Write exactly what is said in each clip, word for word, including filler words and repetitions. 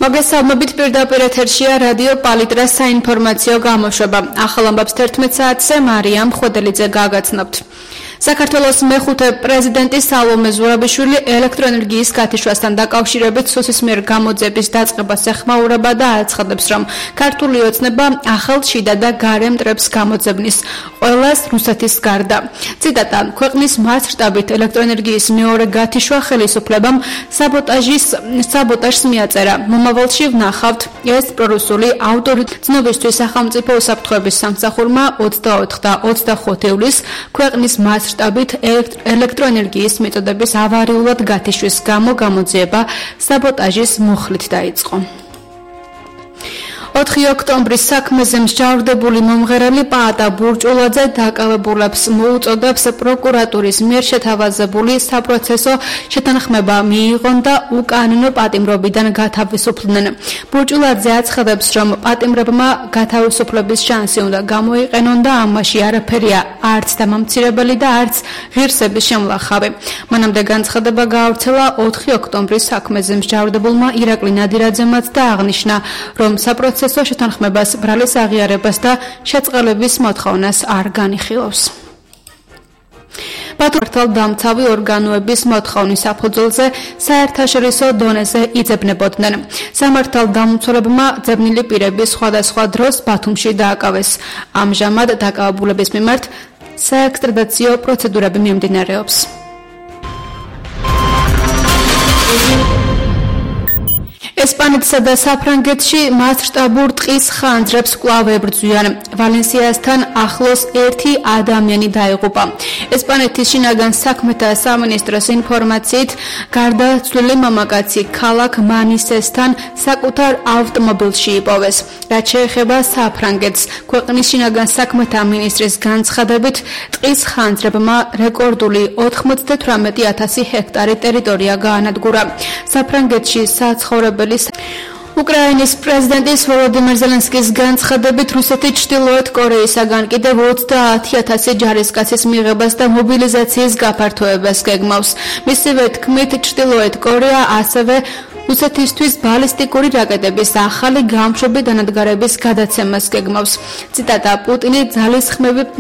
მოგესალმებით, პირდაპირ ეთერშია რადიო პალიტრას საინფორმაციო გამოშვება. ახალ ამბებს თერთმეტ საათზე მარიამ ხვედელიძე გაგაცნობთ. საქართველოს მეხუთე პრეზიდენტი სალომე ზურაბიშვილი ელექტროენერგიის გათიშვასთან დაკავშირებით სუსის მიერ გამოძიების დაწყებას ეხმაურება და აცხადებს, რომ ქართული ოცნება ახალ შიდა და გარე მტრებს გამოძებნის, ყველას რუსეთის გარდა. ციტატა: ქვეყნის მასშტაბით ელექტროენერგიის მეორე გათიშვა ხელისუფლებამ საბოტაჟის საბოტაჟს მიაწერა. მომავალში ვნახავთ, ეს პრორუსული ავტორიტეტი ცნობისთვის სახელმწიფო უსაფრთხოების სამსახურმა ოცდაოთხ და ოცდახუთ ივლისს ქვეყნის მასშტაბით ელექტროენერგიის მიწოდების ავარიულად გათიშვის გამო გამოძიება საბოტაჟის მუხლით დაიწყო. ოთხი ოქტომბრის საქმეზე მსჯავრდებული მომღერალი პაატა ბურჭულაძე დაკავებულებს მოუწოდებს პროკურატურის მიერ შეთავაზებული საპროცესო შეთანხმება მიიღონ და უკანონო პატიმრობიდან გათავისუფლდნენ. ბურჭულაძე აცხადებს, რომ პატიმრებმა გათავისუფლების შანსი უნდა გამოიყენონ და ამაში არაფერია არც დამამცირებელი და არც ღირსების შემლახავი. მანამდე განცხადება გაავრცელა ოთხი ოქტომბრის საქმეზე მსჯავრდებულმა ირაკლი ნადირაძემაც და აღნიშნა, რომ საპროცესო საპროცესო შეთანხმებას ბრალის აღიარებას და შეწყალების მოთხოვნას არ განიხილავს. მართალდამცავი ორგანოების მოთხოვნის საფუძველზე საერთაშორისო დონეზე იძებნებოდნენ. სამართალდამცველებმა ძებნილი პირები სხვადასხვა დროს ბათუმში დააკავეს. ამჟამად დაკავებულების მიმართ საექსტრადიციო პროცედურები მიმდინარეობს. ესპანეთსა და საფრანგეთში მასშტაბურ ტყის ხანძრებს კვლავ ებრძვიან. ვალენსიასთან ახლოს ერთი ადამიანი დაიღუპა. ესპანეთის შინაგან საქმეთა სამინისტროს ინფორმაციით, გარდაცვლილი მამაკაცი ქალაქ მანისესთან საკუთარ ავტომობილში იპოვეს. რაც შეეხება საფრანგეთს, ქვეყნის შინაგან საქმეთა მინისტრის განცხადებით, ტყის ხანძრებმა რეკორდული ოთხმოცდათვრამეტი ათასი ჰექტარი ტერიტორია გაანადგურა. საფრანგეთში საცხოვრებელი უკრაინის პრეზიდენტის ვოლოდიმირ ზელენსკის განცხადებით, რუსეთი ჩრდილოეთ კორეისაგან კიდევ ოცდაათი ათასი ჯარისკაცის მიღებას და მობილიზაციის გაფართოებას გეგმავს. მისივე თქმით, ჩრდილოეთ კორეა ასევე რუსეთისთვის ბალისტიკური რაკეტების ახალი გამშვები დანადგარების გადაცემას გეგმავს. ციტატა: პუტინი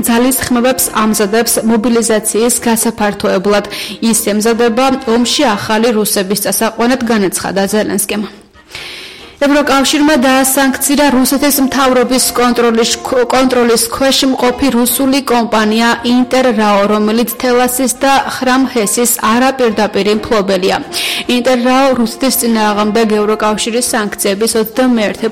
ძალისხმევებს ამზადებს მობილიზაციის გასაფართოებლად. ის ემზადება ომში ახალი რუსების წასაყვანად, განაცხადა ზელენსკიმ. ევროკავშირმა დაასანქცია რუსეთის მთავრობის კონტროლის კონტროლის ქვეშ მყოფი რუსული კომპანია ინტერრაო, რომელიც თელასის და ხრამ ჰესის არაპირდაპირი მფლობელია. ინტერრაო რუსეთის წინააღმდეგ ევროკავშირის სანქციების ოცდამეერთე